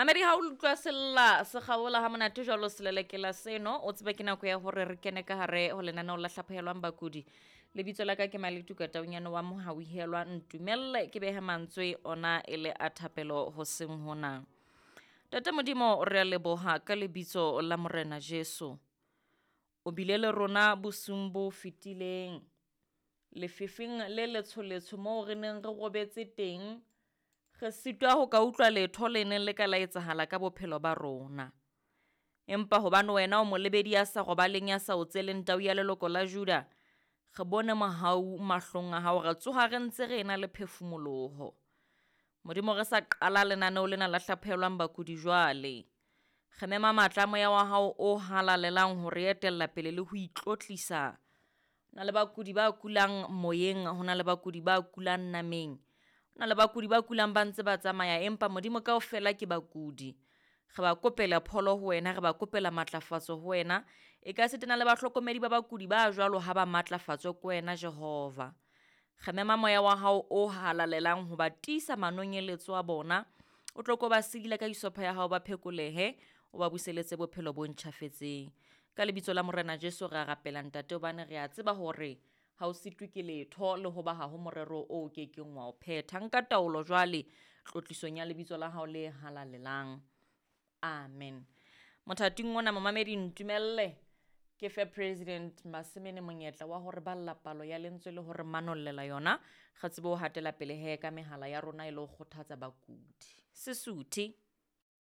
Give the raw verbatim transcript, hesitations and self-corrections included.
Mamedi, ha o utlwa sella se kgaola ha monate jwalo selelekela seno, o tsebe ke nako ya hore re kene ka hare ho lenaneo la hlaphohelwang bakudi. Lebitso la ka ke Maletuka Taunyane wa Mohauhelwa. Ntumelle ke behe mantswe ona e le a thapelo hoseng hona. Ntate Modimo, re a leboha ka lebitso la Morena Jesu. O bile le rona bosiung bo fetileng, lefifing le letsholetsho moo re neng re robetse teng, re sitwa ho ka utlwa letho le neng le ka la etsahala ka bophelo ba rona. Empa hobane wena o molebedi ya sa robaleng, ya sa otseleng tau ya leloko la Juda, re bone mohau mahlong a hao, re tsoha re ntse re ena le phefumoloho. Modimo, re sa qala lenaneo lena la hlaphohelwang bakudi jwale, re mema matla a moya wa hao o halalelang ho re etella pele le ho itlotlisa. Ho na le bakudi ba kulang moyeng, ho na le bakudi ba kulang nameng, ho na le bakudi ba kulang ba ntse ba tsamaya, empa Modimo kaofela ke bakudi. Re ba kopela pholo ho wena, re ba kopela matlafatso ho wena. E ka sitana le bahlokomedi ba bakudi ba jwalo ha ba matlafatswe ke wena Jehova. Re mema moya wa hao o halalelang ho ba tiisa manonyeletso a bona. O tlo ko ba sidila ka isopha ya hao, ba phekolehe, o ba buseletse bophelo bo ntjhafetseng. Ka lebitso la Morena Jesu re a rapela ntate, hobane re a tseba hore ha o sitwe ke letho le hoba ha ho morero o kekeng wa o phetha. Nka taolo jwale tlotlisong ya lebitso la hao le halalelang. Amen. Mothating ona momamedi, ntumelle ke fe President Masemene monyetla wa hore balla palo ya lentswe le hore manollela yona, re tsebe ho hatela pele he ka mehala ya rona e le ho kgothatsa bakudi. Sesuthe.